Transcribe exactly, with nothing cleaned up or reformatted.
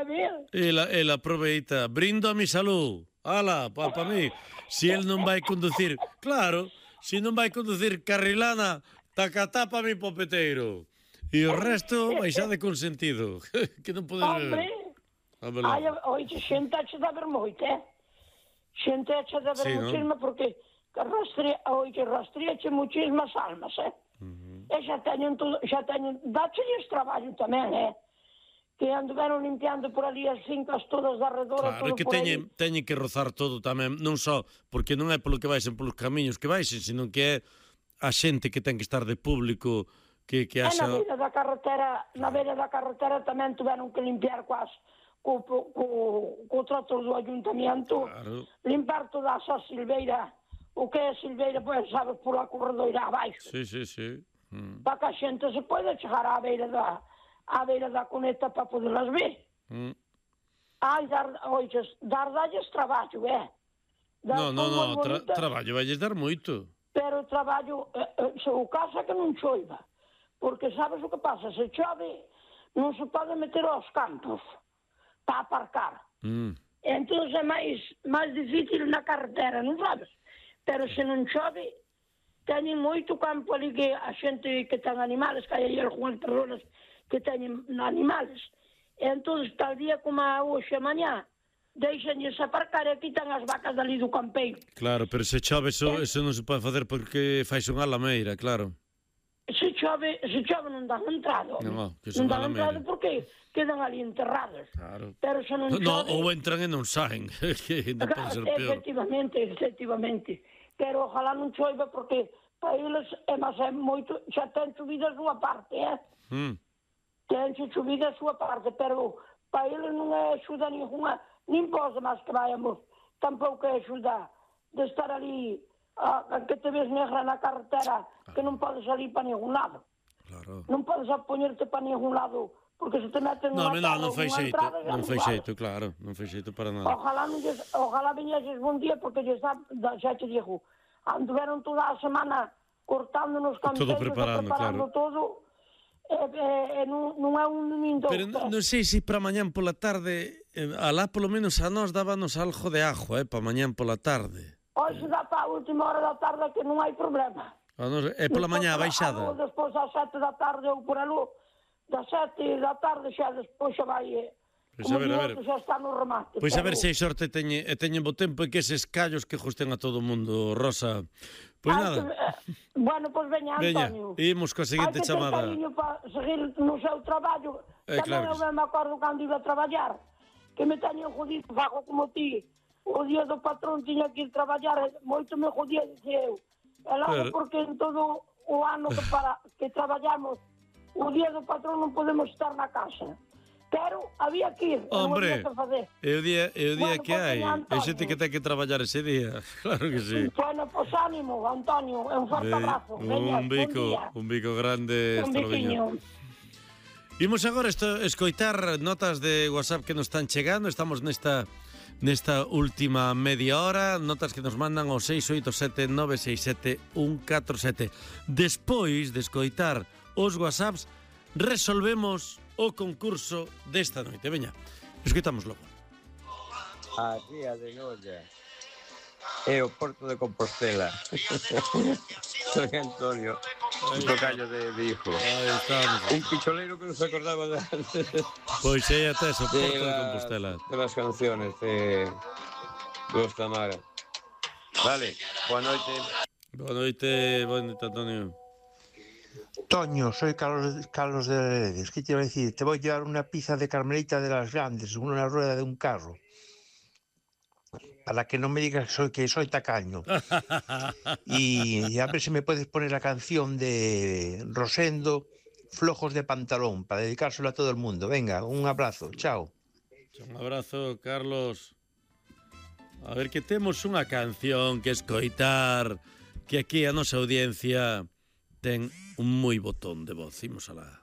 a ver. Ela, ela aproveita, brindo a mi salud. Ala, pa, pa mí. Si el non vai conducir, claro, si non vai conducir carrilana, tacatá pa mi popeteiro. E o resto baixade con sentido. Que non podes Hombre, ver. ai, oixe, xente eche de haber moito, eh? Xente eche de haber Sí, muchísima, ¿no? porque rastrea, oixe, rastreache muchísimas almas, eh? Uh-huh. E xa teñen todo, xa teñen, dáchelles traballo tamén, eh? Que anduveron limpiando por ali as fincas todas de arredor, Claro, todo que por teñen, teñen que rozar todo tamén, non só porque non é polo que baixen polos camiños que baixen, sino que é a xente que ten que estar de público que, que haxa... E na haxa... beira da carretera, na beira da carretera tamén tuveron que limpiar coas, co, co, co, co trator do ayuntamiento, Claro. limpar toda esa silveira, o que é silveira, pois sabes, por a corredoira abaixo. Sí, sí, sí. Mm. Para que a xente se poida chegar á beira da á beira da cuneta para poderlas ver. Mm. Ai, dar, oixes, dar dalles traballo, eh? Dar No, no, no, tra bonitas, traballo valles dar moito. pero o traballo, eh, eh, se o caso é que non choiva, porque sabes o que pasa, se chove non se pode meter aos campos para aparcar. Mm. Entón é máis, máis difícil na carretera, non sabes? Pero se non chove, teñen moito campo ali que a xente que ten animales, que hai aí algunhas persoas que teñen animales. E entón, tal día como a hoxe a mañá, deixanlles aparcar e quitan as vacas dali do campeiro. Claro, pero se chove eso, eh? eso non se pode facer porque fais unha lameira, claro. Se chove, se chove non dan entrada. No, que non son dan lameira. entrada porque quedan ali enterrados. Claro. Pero se non chove... No, ou entran e non saen, que non pode ser peor. Efectivamente, efectivamente. Pero ojalá non choiva porque para eles é máis é moito, xa ten subida a súa parte, eh? Mm. Ten subida a súa parte, pero para eles non é axuda ninguna, nin pode máis que vayamos, tampouco é axuda de estar ali, a, a que te ves negra na carretera, que non podes salir para ningún lado. Claro. Non podes apoñerte para ningún lado, porque se te meten No, unha no, cara non ou fai unha xeito, entrada, xa non fai vale. xeito, claro, non fai xeito para nada. Ojalá non lles, ojalá viñeses bon día, porque lles dá, xa te digo, anduveron toda a semana cortando nos campeiros, Todo preparando, preparando claro. todo, e, e, e non, non é un nin dous. Pero non, non sei se para mañán pola tarde, eh, alá polo menos a nós dábanos algo de ajo, eh, para mañán pola tarde. Hoxe dá para a última hora da tarde que non hai problema. A nos, é pola mañá a baixada. Ou despois ás sete da tarde ou por aló, das sete da tarde xa despois xa vai... eh, Pois como a ver, a ver. digo, xa está no remate. Pois a pero- ver se hai sorte e teñen, e teñen bo tempo e que eses callos que justen a todo o mundo, Rosa. Pois Hai nada, que- eh, bueno, pois veña, veña, Antonio. imos coa seguinte Hai que ter chamada. cariño para seguir no seu traballo. Eh, Tamén claro que eu sí. ben me acordo cando iba a traballar, que me teñen jodido, fago como ti. O día do patrón tiña que ir traballar, e moito me jodía, dicía eu. E logo, Pero- porque en todo o ano que, para, que traballamos, o día do patrón non podemos estar na casa. Pero había que ir, non Hombre, había que fazer. é o día, é o día Bueno, que pois hai. veña, É xente Antonio. que ten que traballar ese día. Claro que sí. Bueno, pois ánimo, Antonio, e un forte Veña, abrazo. Veña, un bon bico, día. un bico grande. Un Hasta logo. biquiño. Imos agora esto, escoitar notas de WhatsApp que nos están chegando. Estamos nesta nesta última media hora. Notas que nos mandan ao seis oito sete nove seis sete un catro sete. Despois de escoitar os WhatsApps, resolvemos o concurso desta noite. Veña, escoitamos logo. A ría de Noia e o Porto de Compostela. Soy Antonio, un tocayo de Vigo. Aí estamos. Un picholeiro que non se acordaba de, Pois é até o de, Porto de la- Compostela. de las canciones de Los Tamara. Vale, boa noite. Boa noite, boa noite, Antonio. Toño, soy Carlos, Carlos de Redes. ¿Qué te iba a decir? Te voy a llevar una pizza de Carmelita de las Grandes, una rueda de un carro. Para que no me digas que soy, que soy tacaño. Y, y a ver si me puedes poner la canción de Rosendo, Flojos de Pantalón, para dedicárselo a todo el mundo. Venga, un abrazo. Chao. Un abrazo, Carlos. A ver, que temos unha canción que escoitar, que aquí a nosa audiencia ten un moi botón de voz. Imos alá.